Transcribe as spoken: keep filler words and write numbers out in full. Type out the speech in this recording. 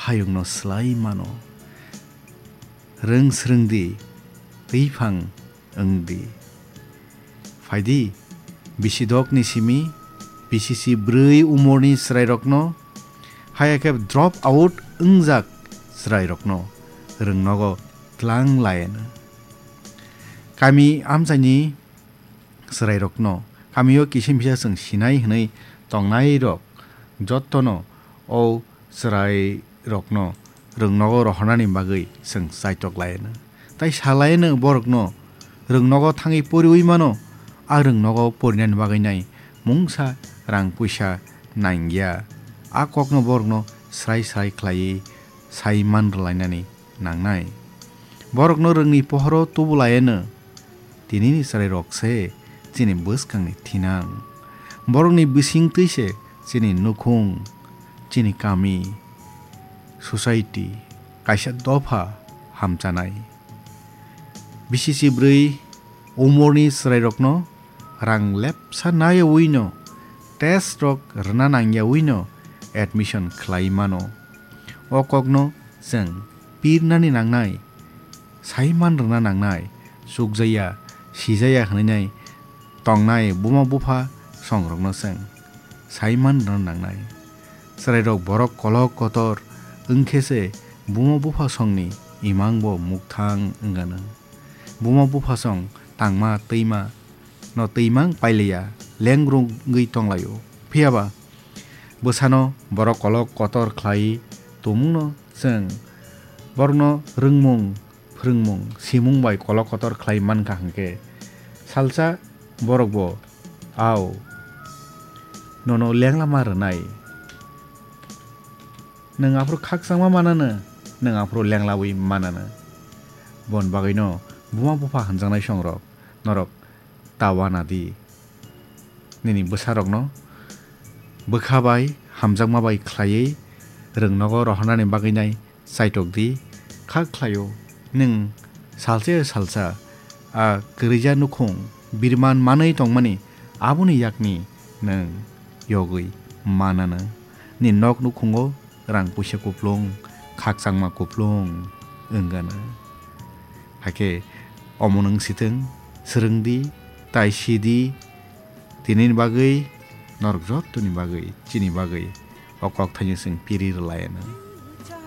hayungno slai mano. Rwng swrwng di, twiphang wng di. Phai di, bisi dokni simi, bisi si brwi umorni chwrairokno, haya khe drop out wngjak chwrairokno rwng nogo tlang laino. Kami amchaini chwrairokno, kamio kisa misa chwng sinai hwnwi tongnairok jottono o chwrairokno rwng nogo rohornani bagwi chwng chaitok laino. Tai sa laino borokno rwng nogo thangwi poriwi mano, a rwng nogo porinani bagwi nai mungsa rang puisa nangya. A kokno borokno srai srai khlaiwi sai man rwlainani nangnai. Borokno rwngni pohoro tubu laino. Tinini chwrairok se chini bwskangni thinang. Borokni bising twi se chini nukhung, chini kami, society, kaisa dopha hamchanai. Bisi si brwi umorni chwrairokno rang lepsa naiwino, test rok rwna nangyawino admission khlai mano. O kokno chwng pirnani nangnai, sai man rwna nangnai, chukjaya, sijaya hwnwi nai tongnai buma bupha songrokno chwng sai man rwna nangnai. Chwrairok borok kolok kotor wngkhe se buma bupha songni imangbo mukthang wngano. Buma bupha song tangma twima no twimang pailiya, lengrung wngwi tonglaio. Phiyaba bwsano borok kolok kotor khlai tongmungno chwng borokno rwngmung, phrwngmung, simung bai kolok kotor khlai mankha hwnkhe, salsa borokbo, "Au, nono lenglama rwnai. Nwng aphuru khakchangma manano, nwng aphuru lenglawi manano." Bon bagwino buma bupha hwnjaknai songrok, norok ta wana di. Nini bwsarokno bwkha bai hamjakma bai khlaiwi rwng nogo rohornani bagwi nai chaitok di. Kha khlaio, nwng salsa ya salsa a kwrwija nukhung birman manwi tongmani, aboni yakni nwng yogwi manano. Ni nok nukhungo rang puisa kuplung, khakchangma kuplung wngano. Hakhe omo nwng sitwng, swrwng di, tai si di, tinini bagwi, norok jottoni bagwi, chini bagwi o kokthaino chwng piri rwlaino.